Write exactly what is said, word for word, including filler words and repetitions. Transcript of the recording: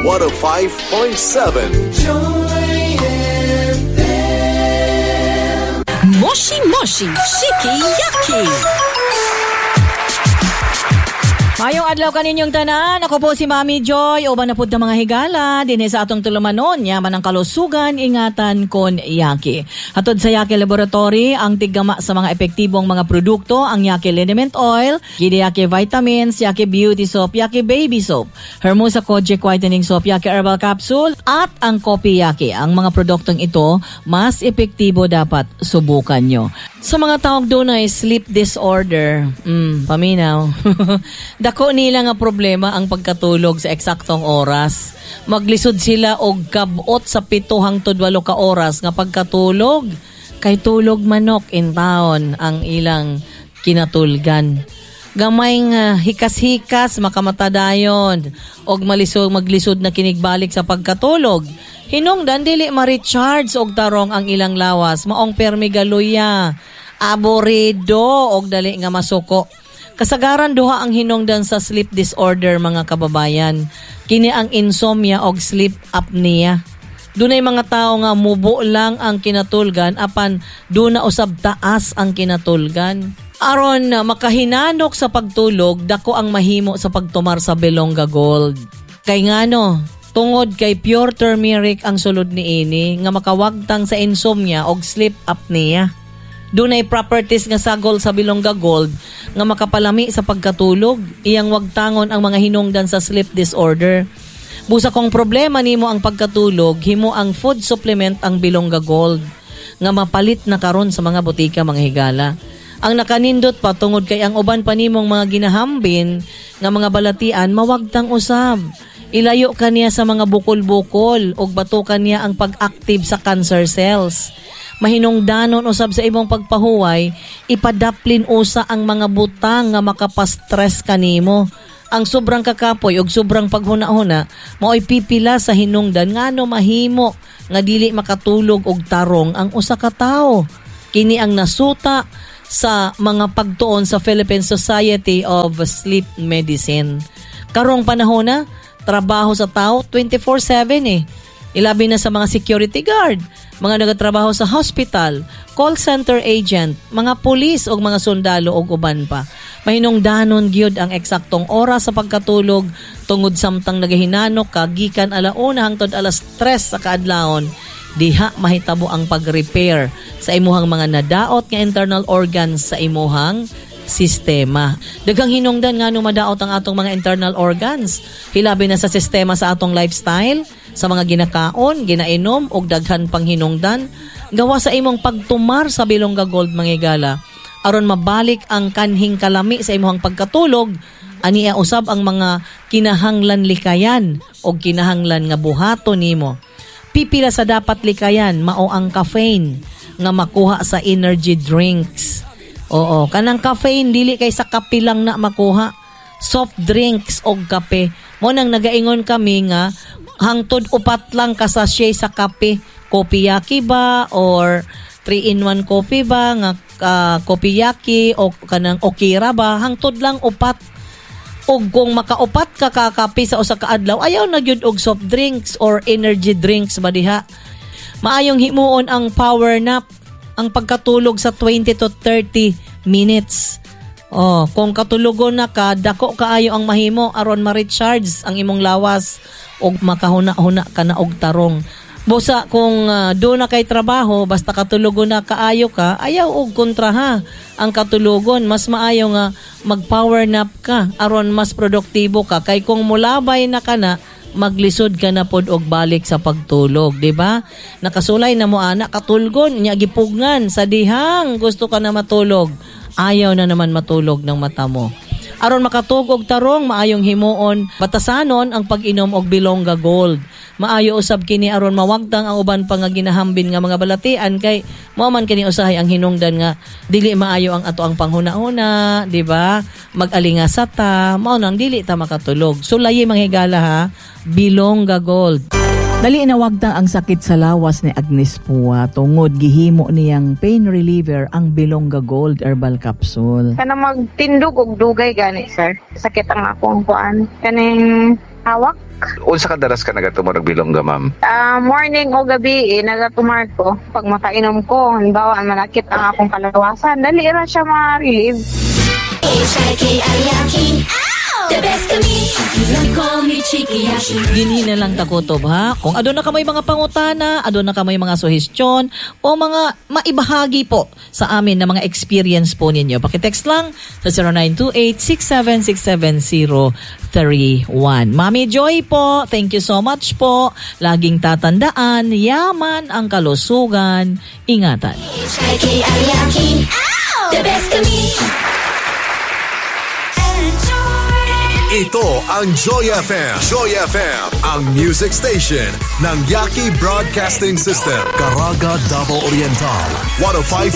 one oh five point seven. Joy F M. Moshi Moshi Shiki Yaki. Mayong adlaw kaninyong tanan. Ako po si Mami Joy. Uban na pud ta mga higala dinhi sa atong tulumanon. Yaman ang kalusugan, ingatan kon Yaki. Hatod sa Yaki Laboratory, ang tiggama sa mga epektibong mga produkto, ang Yaki Liniment Oil, Gidi Yaki Vitamins, Yaki Beauty Soap, Yaki Baby Soap, Hermosa Kojic Whitening Soap, Yaki Herbal Capsule, at ang Kopi Yaki. Ang mga produktong ito, mas epektibo dapat subukan nyo. Sa mga tawag doon ay sleep disorder, mm, paminaw. Dako nila nga problema ang pagkatulog sa eksaktong oras. Maglisod sila og kabot sa pito hangtod walo ka oras nga pagkatulog. Kay tulog manok in town ang ilang kinatulgan. Gamay nga hikas-hikas makamata dayon og malisod maglisod na kinigbalik sa pagkatulog. Hinungdan dili ma-recharge og tarong ang ilang lawas, maong permi galuya, aborido og dali nga masuko. Kasagaran duha ang hinungdan sa sleep disorder mga kababayan. Kini ang insomnia og sleep apnea. Dunay mga tao nga mubo lang ang kinatulgan apan duna usab taas ang kinatulgan. Aron makahinanok sa pagtulog, dako ang mahimo sa pagtumar sa Belongga Gold. Kay ngano, tungod kay pure turmeric ang sulod niini nga makawagtang sa insomnia og sleep apnea. Dunay properties nga sagol sa Bilongga Gold nga makapalami sa pagkatulog, iyang wagtangon ang mga hinungdan sa sleep disorder. Busa kung problema nimo ang pagkatulog, himo ang food supplement ang Bilongga Gold nga mapalit na karon sa mga botika mga higala. Ang nakanindot pa tungod kay ang uban pa nimong mga ginahambin nga mga balatian mawagtang usab. Ilayo ka niya sa mga bukol-bukol ug batukan niya ang pag-active sa cancer cells. Mahinungdanon usab sa imong pagpahuway, ipadaplin usa ang mga butang nga makapastress kanimo. Ang sobrang kakapoy ug sobrang paghuna-huna maoy pipila sa hinungdan ngano mahimo nga dili makatulog og tarong ang usa ka tawo. Kini ang nasuta sa mga pagtuon sa Philippine Society of Sleep Medicine. Karong panahon na, trabaho sa tao twenty-four seven eh. Ilabi na sa mga security guard, mga nagatrabaho sa hospital, call center agent, mga pulis o mga sundalo o uban pa. Mahinungdanon gyud ang eksaktong oras sa pagkatulog tungod samtang nagahinanok ka gikan alauna hangtod alas tres sa kaadlawon. Diha mahitabo ang pag-repair sa imuhang mga nadaot nga internal organs sa imuhang sistema. Daghang hinungdan nga no madaot ang atong mga internal organs. Hilabi na sa sistema sa atong lifestyle, sa mga ginakaon, ginainom, og daghan pang hinungdan. Gawa sa imong pagtumar sa Bilongga Gold mga higala. Aron mabalik ang kanhing kalami sa imong pagkatulog, ania usab ang mga kinahanglan likayan og kinahanglan nga buhaton nimo. Pipila sa dapat likayan mao ang caffeine nga makuha sa energy drinks. Oo, kanang caffeine dili kay sa kape lang na makuha. Soft drinks og kape. Mo nang nagaingon kami nga hangtod upat lang ka sachet sa kape. Kopiyaki ba or three in one coffee ba nga, uh, kopiyaki o kanang okira ba, hangtod lang upat. Og kung makaupat ka kakape sa usa ka adlaw, ayaw na gyud og soft drinks or energy drinks ba diha. Maayong himuon ang power nap, ang pagkatulog sa twenty to thirty minutes. Oh, kung katulogon na ka, dako kaayo ang mahimo aron ma-recharge ang imong lawas og makahuna-huna ka na og tarong. Busa kung, uh, do na kay trabaho, basta katulogon na kaayo ka, ayaw og kontra ha ang katulogon. Mas maayo nga mag-power nap ka aron mas produktibo ka. Kay kung mulabay na ka na, maglisod ka na pod og balik sa pagtulog, di ba? Nakasulay na mo ana katulgon, nya gipugngan sa dihang gusto ka na matulog, ayaw na naman matulog ng mata mo. Aron makatug og tarong, maayong himuon, batasanon ang pag-inom og Bilongga Gold. Maayo usab kini aron mawagtang ang uban pa nga ginahambin nga mga balatian kay mao man kini usahay ang hinungdan nga dili maayo ang ato ang panghuna-huna, di ba? Mag-alingasa ta, mao nang dili ta makatulog. Sulayi mga higala ha, Bilongga Gold. Dali na wagtang ang sakit sa lawas ni Agnes Pua tungod gihimo niyang pain reliever ang Bilongga Gold Herbal Capsule. Kana magtindog og dugay gani sir. Sakit ang akong kuan. Kaning hawak. Unsa kadalas ka nagatumor og bilongga, ma'am? Ah, morning o gabi eh, nagatumar ko. Pag makainom ko, halimbawa manakit ang akong kalawasan, dali ra siya ma-relieve. H I K I Yaki. The best kami. Call me Chikiyashi. Dinhi na lang ta kutob, ha. Kung aduna kamoy mga pangutana, aduna kamoy mga suhestyon o mga maibahagi po sa amin na mga experience po ninyo. Paki-text lang sa zero nine two eight, six seven six seven, zero three one. Mami Joy po, thank you so much po. Laging tatandaan, yaman ang kalusugan. Ingatan. H I K I Yaki. The best kami. Ito ang Joy F M. Joy F M, ang music station ng Yaki Broadcasting System. Caraga, Davao Oriental, one oh five point seven.